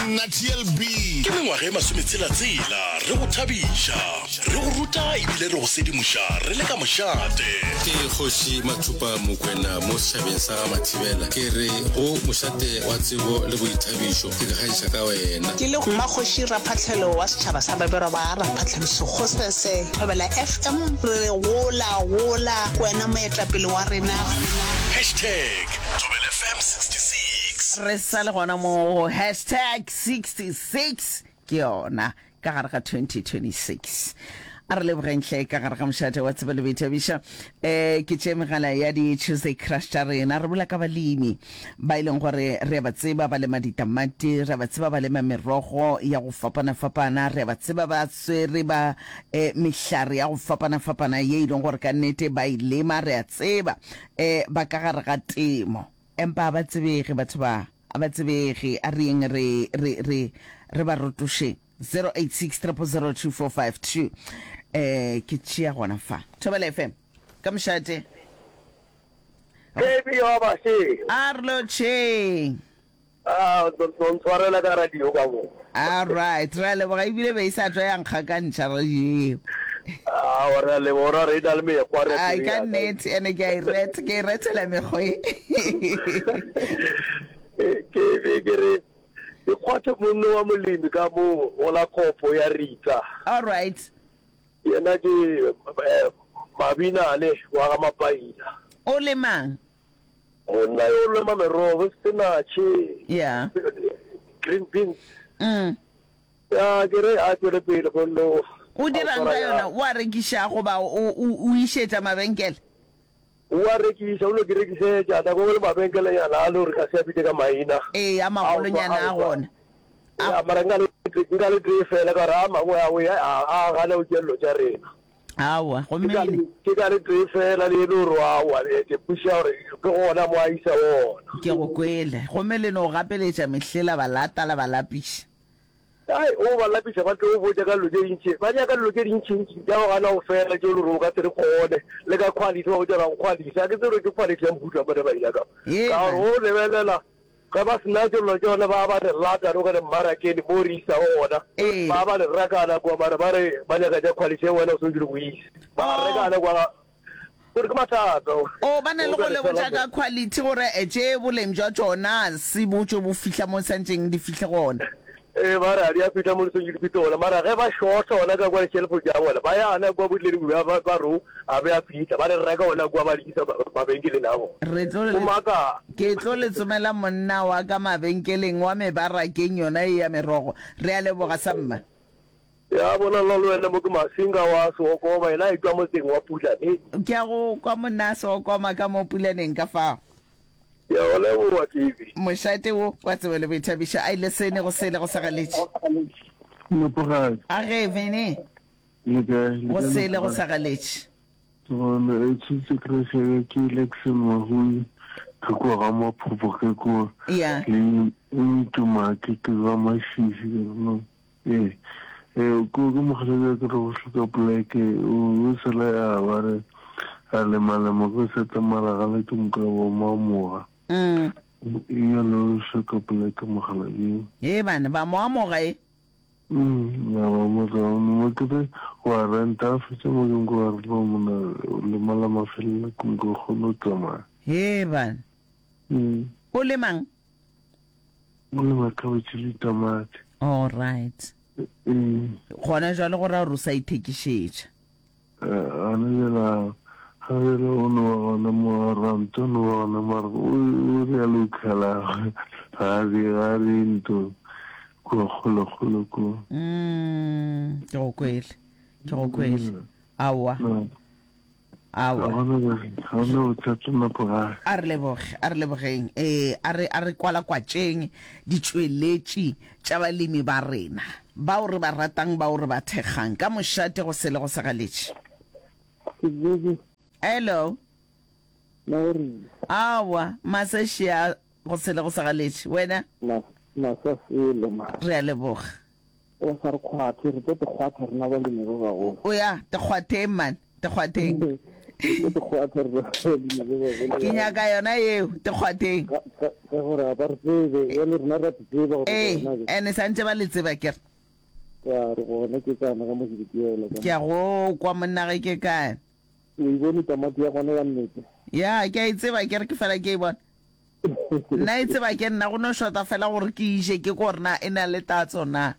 nna TLB. Ke mengwaga e masometshela-tshela re go thabiša, re go ruta ebile re go sedimoša re le ka mošate. Ke Kgoši Mathupa Mokwena mo setšhabeng sa ga Mathibela. Ke re go mošate wa tsebo le boithabišo, ke ikgantšha ka wena. Ke le Mmakgoši Raphahlelo wa setšhaba sa Baberwa ba Raphahlelo Sekgosese, Thobela FM, re re gola, gola, ke wena moetapele wa rena. Hashtag Thobela FM 66. Re sa le gona mo go hashtag 66 ke yona ka gare ga 2026. A re lebogeng hle ka gare ga mošate wa tsebo le boithabišo. Um ke tše megala ya di Tuesday Crush tša rena. Re bola ka balemi ba e leng gore re a ba tseba ba lema ditamati, re a ba tseba ba lema merogo ya go fapana-fapana, re a ba tseba ba swere ba um mehlare ya go fapana-fapana ye e leng gore ka nnete ba e lema, re a tseba um ba ka gare ga temo. Empa a ba tsebege batho ba, a ba tsebege. A re yeng re, re, re, re ba rotošeng. 086 000 2452. Eh, ke tšea gona fa. Thobela FM. Ka mošate. Baby wa bashe. A re lotšheng. Ah, o ntshwarela ka radio ka mo. All right, re a leboga ebile be e sa tšwa ya nkgakantšha radio eo. Ah, wa re a leboga ra re e na le mekgwa re Ai ka nnete ene ke a e reta, ke e retela mekgwa e. Ke be ke re ke kgwathe monno wa molemi ka mo go la kopo ya Ritsa. All right. Yena ke eh, Mabinane wa ga Mapaila. O lemang? Monna yo o lema merogo, spinach, Yeah. green beans. Mm. Ya ke re a tšwele pele gonne o O dirang ka yona? O a rekiša goba o o o išetša mabenkele? O a rekiša, o no di rekišetša nako nngwe le mabenkelenyana a le gore ka se a bitše ka maina. Ee, a magolonyana a gona. Ya, mara nka le nka le tee fela ka gore a mangwe a we a a gana go tšea dilo tša rena. Aowa, gomme Ke ka le. Ke ka le tee fela le e le gore aowa, ke kwešiša gore ke gona mo a isa gona. Ke go kwele. Gomme le no gapeletša mehlela ba lata la ba lapiša. Ai, o ba lapiša ba tlo go botša ka dilo tše dintši. Ba nyaka dilo tše dintšintši tša go gana go fela tše e le gore o ka se di kgone. Le ka quality ba botša gore ga go quality. Ga ke tsebe gore ke quality ya mohuta mang ba e nyakago. Ee, Ka gore man. o lebelela Ge ba se na tšollo tšona ba ba re lata re gone mmarakeng mo re isago gona. Ee. Ba ba re rekana kua mara ba re ba nyaka tša quality ye wena o swanetše go ise. Ba Oh. rekana kua gore ke mathata. Oh, ba na le O go ka le re botša fela ka quality gore tše boleng bja tšona se bo tšo bo fihla mo santšeng di fihle gona. Ee, ba re ga di a fihla mo di swanetše di fihle gona mara ge ba shorta gona ka kua di-shelfong tša bona ba ya gona kua bo dileng ba ba re o a be a fihla ba di reka gona kua ba di isa mabenkeleng a bona. Re tlo O le maka. Ke tlo le tsomela monna wa ka mabenkeleng wa mebarakeng yona ye ya merogo. Re a leboga samma. Ya bona nna le wena mo ke Masinga wa Seokoma yena a etšwa motseng wa Pulaneng. Ke a go kwa monna a Seokoma ka mo Pulaneng ka fao. Ke a go leboga Tsebi. Mošate wo wa tsebo le boithabišo a ile sene go sele go sa galetše. Nepagadi. A ge Vene. Le kae? Le Go kae sele go Nepagadi? sa galetše. Gona e tshutse krešele ke Lexon Mahui ke kwa ga Maphopho ke kwa Ya. le Ntumake ke ga Mashishi ke re no ee ee ko ke mogalabi ke re go hloka poleke o sele a ba re a lema lema ko seta mara ga le ke moka bo mamoga Mm. yalo o hloka poleke mogalabi Ee bana ba mo amoga e. Mm, ya ba mo ka mo ke re wa renta a fetša mo ke nko wa re no mona lema la mafelelo ke nko kgone go tsamaya. Hee bana. Mm. O lemang? O lema cabbage le tamati. All right. Mm. Gona jwale go ra gore o sa ithekišetša. Gana bjale a ga bjale o no ba gona mo a ranta o no ba gona mara o o realo o khala ga a re ga a re nto kua kgole kgole kua. Mm, ke go kwele ke go kwele aowa No, ga aowa gona ga gona bothata nako gae. A re leboge, a re lebogeng. Ee, a re, a re kwalakwatšeng ditšweletši tša balemi ba rena, bao re ba ratang, bao re ba thekgang. Ka mošate go sele go sa galetše. Hello. Aowa, masa šia go sele go sa galetše. Wena? Masa sele, ma. Re a leboga. O sa re kgwathe, re tlo te kgwatha rena balemi ba bagolo. O ya, te kgwatheng man, te kgwatheng. Ke dikgwatha re Ke nyaka yona yeo, dikgwatheng. Ka ka ka gore a ba re tsebe, bjale rena ra tseba gore Ee, gona ke. ene santše ba le tseba ke re. Ya re gona ke kana ka mo Sebitiela ka Ke a go kwa monna ge ke kae. O e bone tamati ya gona ya nnete? Ya, ke a e tseba ke re ke fela ke e bona. Nna e tseba ke nna go no shota fela gore ke ije ke ko gore na e na le tatso na.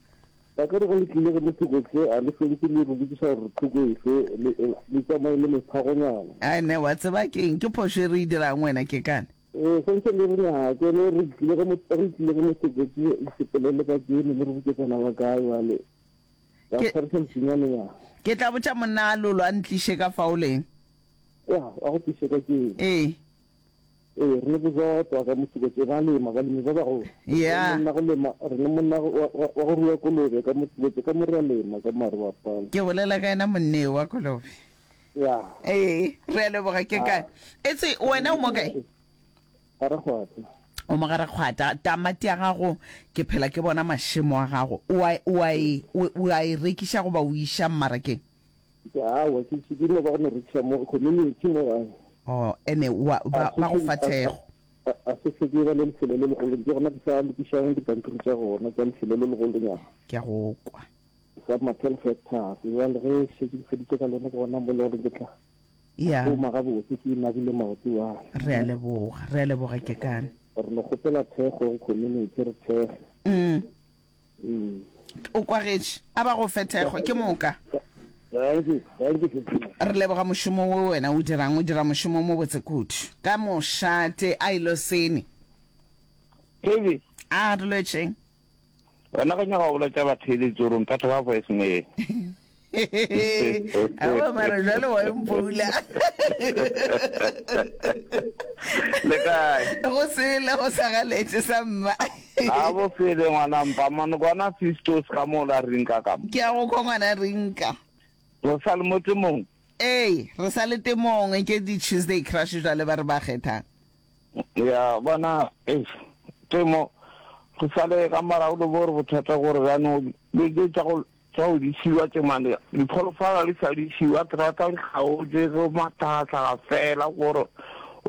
Ba ka re go le tlile go motho se a le feditse le re botšiša gore thoko efe le le tsamaye le mephagonyana. Ai ne wa tseba ke eng ke phošo e re e dirang wena ke kane. Ee, santse le re nyake le re tlile go re tlile go motho le sepele le ka kene le re botšetsana ba kae bale. Ba tshwarisa mosinyane ya. Ke tla botša monna a lolo a ntliše ka fao leng. Ya, a go tliše ka kene. Ee. Ee, re le bojotwa ka Motsekotse ba lema, balemi ba bagolo. Yeah. Re le monna go lema, re le monna wa, wa, wa go rua kolobe ka Motsekotse ka mo re a lema ka mare wa pala. Ke bolela ka yena monneo wa kolobe. Yeah. Ee, re a leboga ke kae. Etse wena o mo kae? Ga-Rakgwata. O mo Ga-Rakgwata. Tamati ya gago ke phela ke bona mašemo a gago. O a, o a e, o, o a e rekiša goba o iša mmarakeng? Ke aowa, ke, ke no ba go no rekiša mo community mo gae. Oh, ene wa, ba, ba go fa thekgo. A, a se se ke ba le lefelo le legolo, ke gona ke sa lokišang dipampiri tša gona tša lefelo le legolonyana. Ke a go kwa. Sa ma 12 hectares, bjale ge šetše ke feditše ka lona ke gona mo le gore ke tla Ya. šoma gabotse ke nabile maoto wa. Re a leboga, re a leboga Kekane. Re no kgopela thekgo go community, re thekge. Mm. O kwagetše. A ba go fe thekgo. Ke moka. Re leboga mošomo wo wena o dirang. O dira mošomo o mobotse kudu. Ka mošate a ilo sene. Kevin. A re lwetšeng. Wena go nyaka go boletša batheeletši gore mphetho ba voice mail. Aowa mara jwale wa mpoula. Le kae? Go sele go sa galetše sa mma. A bo sele ngwana mpa mane kwana Fistos ka mo la rinka ka mo. Ke a go kwa ngwana rinka. Re sa le mo temong. Ee, re sa le temong ke di Tuesday crush jwale ba re ba kgethang. Ya bona eish temo go sa le ka morago le bo re bothata gore jaanong le tša go Tša go di šiwa tše mane, dipholofala di sa di šiwa, terata di kgaotše, go mahlagahlaga fela, gore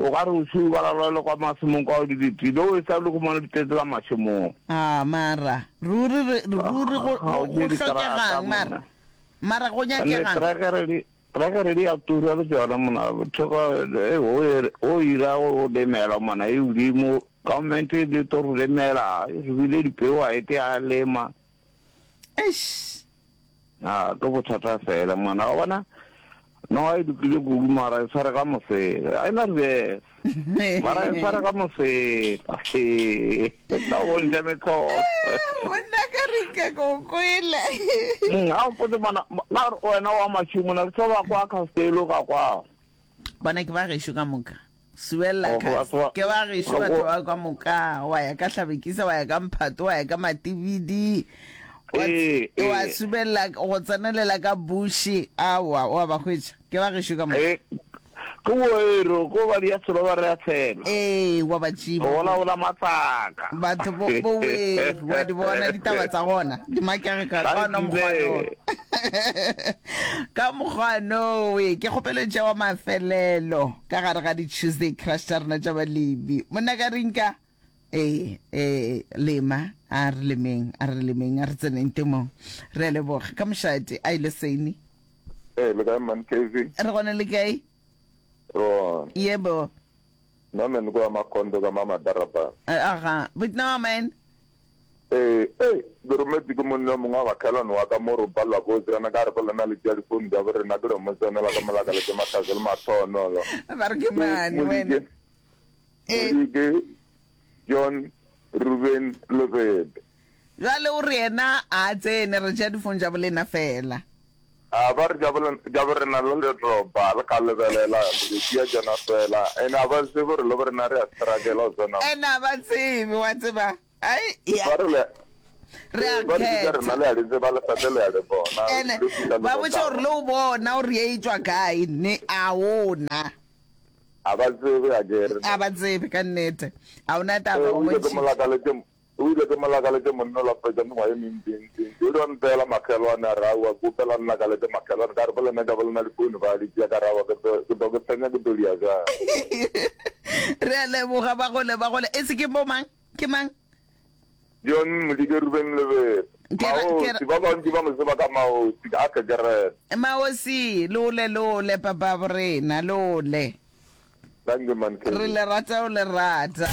o ka re o šiwe ba lalwele kwa mašemong kwa di letile, o e sa le humane di tletse ka mašemong. A mara ruri re ruri go go Kgaotše diterata hlokegang mara monna. mara go Ene nyakegang. trekere di trekere di a tura le tšona monna, theko e o e o ira go lemela monna e godimo, government e le tlo re lemela, e re bile dipeo a ete a lema. Eish. A ke bothata fela mona wa bona noga e lokile kudu mara e tshware ka mosela a ena reverse mara e tshware ka mosela tla bontšha metlholo monna ka re ke go kwele ga o potse mana na wena wa mašimo na ke tlo ba kwa Castello ka kwa bona ke ba gešo ka moka Suella Oh, Cast. batho ba- Ke ba gešo Go- batho ba ka moka. Wa ya ka Hlabekisa, wa ya ka Mphato, wa ya ka Matibidi. Wa Ee, wa ee. subelela go tsenelela ka Bushi. Aowa, wa ba hwetša. Ke ba gešo ka moka. Eh, ke boero ko ba dia selo ba re a tshela Ee, wa ba tšiba. go bolabola matsaka Batho bo bo weru, wa di bona ditaba tsa gona. Di makege ka ka ona mokgwa no. Ka mokgwa nowe, ke kgopelo tša wa mafelelo ka gare ga di-Tuesday Crush tša rena tša balemi. Monna ka rinka, ee, ee, lema, a re lemeng, a re lemeng, a re tseneng temong. Re a leboga. Ka mošate, a ile Seini. Ee, le kae man KV? Re gona le kae? Re gona. Yebo. Nna man ko Makondo ka mama Darabane. Aga, but no man. Ee, ee, ke rometše ke monna yo mongwe wa bakhelwane wa ka mo re palelwa ke go tsena, ka re go lena le tšea difounu tša borena, ke re mo tsenela ka molaka le tše mahlatse le mahlonolo. Ba re ke Ke mane wena. Modike, Modike, John, Ruben, Lobebe. Jwale o re yena a tsene, re tšea difounu tša bolena fela. A ba re tša borena le le roba, le ka lebelela, le di tšea tšona fela. Ene a ba tsebe gore le borena re a struggle go tsena mo. Ene a ba tsebe, wa tseba. Ai, ya. Ba re le, Re a ba re tša kgetha. rena le a di tseba, le sate le a le bona. Ene Le fihla le ba botše gore le o bona gore ye e tšwa kae, ne a ona. A ba tsebe, a ke re. A ba tsebe ka nnete. A ona taba, Ee, o o ile ke bontšhitše. molakaletše. O ile ke mo lakaletše monna ola fetša mengwaga e mentši-ntši-ntši. O ile wa mpeela makgelwane a re, Aowa, ke opela nna lakaletše makgelwane. Ka re, Bo lena tša bo lena difounu ba di tšea. Ka re, Aowa, ke tlo, ke tlo ke fenya ke tlo dia bjang. Re a leboga bagole, bagole. E se ke bo mang? Ke mang? John Modike Ruben Lebele. Maosi, ba bantši ba mo tseba ka Maosi, a Kekerete. Maosi, lole, lole, papa bo rena, lole. Dankie man Kelly. Re le rata o le rata.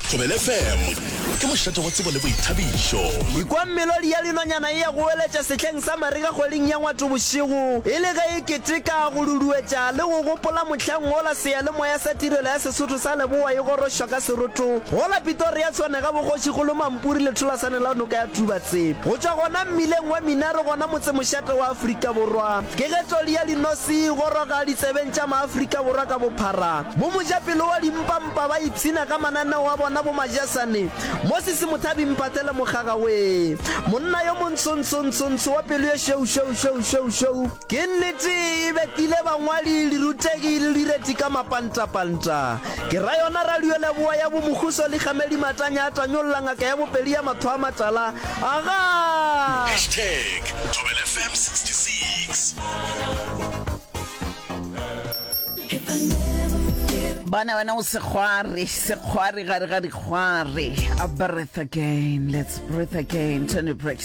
Thobela FM ke mošate wa tsebo le boithabišo. Ekwa melodi ya dinonyana e a goeletša sehleng sa marega kgweding ya Ngwatobošego, e le ge e keteka, go duduetša le go gopola mohlang wola seyalemoya sa Tirelo ya Sesotho sa Leboa e gorošwa ka seroto gola Pitoria Tshwane ga boKgošikgolo Mampuri letholasane la noka ya Tubatse. Go tšwa gona mmileng wa Minare gona motsemošate wa Afrika Borwa. Ke ge toli ya dinose e goroga ditsebeng tša maAfrika Borwa ka bophara. Bo mojapelo wa dimpampa ba ipshina ka mananeo a bona bo majasane. Moses Mothabi Mphathele Mokgaga wee! Monna yo montsho-ntsho-ntsho-ntsho wa pelo ye šweu-šweu-šweu-šweu-šweu. Ke nnete e betile bangwadi, dirutegi le direti ka mapantapanta. Ke ra yona Radio Leboa ya bo Mokhuso Likgamedi Matanya a tanyolla ngaka ya bopedi ya matho a matala. Agaa! Hashtag Thobela FM 66. Bona wena o sekgwari, sekgwari gare ga dikgwari. A breath again, let's breathe again. Toni Braxton.